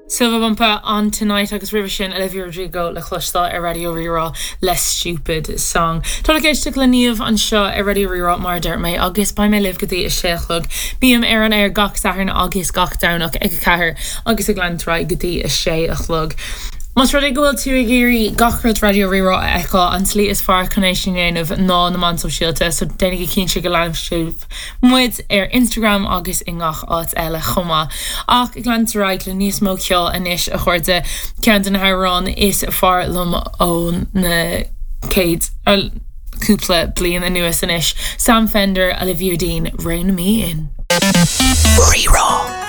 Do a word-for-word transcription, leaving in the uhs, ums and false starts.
Silver Bumper on Tonight agus roimhe sin Olivia Rodrigo le cloisteáil ar Raidió Rí-Rá le Stupid Song. Tá ag éisteacht le Niamh anseo ar Raidió Rí-Rá mar deir mé agus beidh mé libh go dtí a sé a chlog. Bím ar an air gach Satharn agus gach Domhnach ag a ceathair agus ag leanúint go dtí a sé a chlog. Más rud é go bhfuil tú ag iarraidh gach rud Raidió Rí-Rá a fheiceáil an tslí is fearr chun é sin a dhéanamh ná na meáin sóisialta, so déanaigí cinnte go leanann sibh muid ar Instagram agus i ngach áit eile chomh maith. Ach ag leanúint ar aghaidh le níos mó ceoil anois a chairde ceann de na hamhráin is fearr liom ó na céad cúpla bliain anuas anois. Sam Fender Olivia Dean Rein Me In. Rí-Rá.